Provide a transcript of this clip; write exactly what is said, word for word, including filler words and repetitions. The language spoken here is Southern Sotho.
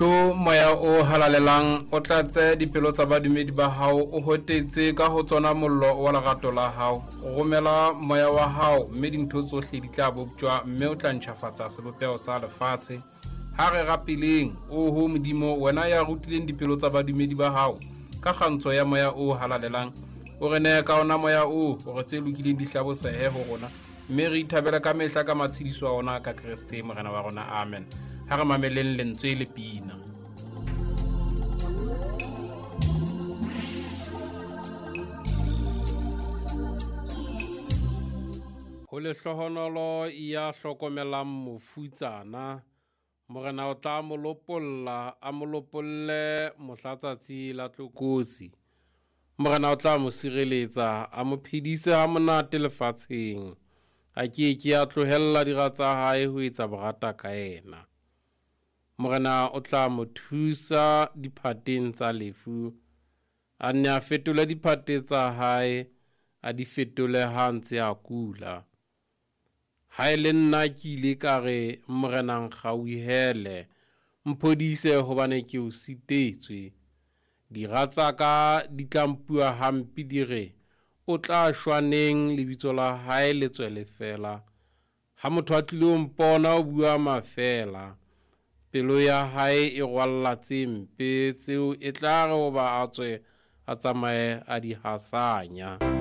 Tlo moya o halalelang o tlatse dipelo tsa badumedi ba hao, o hotetse ka ho tsona mollo wa lerato la hao. Romela moya wa hao mme dintho tsohle di tla boptjwa, mme o tla ntjhafatsa sebopeho sa lefatshe. Ha re rapeleng, oho Modimo, wena ya rutileng dipelo tsa badumedi ba hao ka kgantsho ya moya o halalelang, o re neye ka ona moya oo hore tse lokileng di hlabosehe ho rona, mme re ithabele ka mehla ka matshediso a ona ka Kreste Morena wa rona. Amen. Ha re mameleng lentswe le pina. Ho lehlohonolo ya hlokomelang mofutsana, Morena o tla mo lopolla, a mo lopolle mohla tsatsi la tlokotsi. Morena o tla mo sireletsa, a mo phedise ha monate lefatsheng. A ke ke a tlohella dira tsa hae ho etsa borata ka yena. Morena o tla mo thusa diphateng tsa lefu, a nne a fetole diphate tsa hae, a di fetole ha ntse a kula. Ha e le nna ke ile ka re, Morena nkgauhele, mphodise hobane ke o sitetswe. Dira tsa ka di tla mpua hampe di re, o tla shwa neng lebitso la hae le tswele feela. Ha motho a tlilo mpona o bua mafeela, pelo ya hae e rwalla tse mpe tseo e tla re hoba a tswe a tsamaye a di hasanya.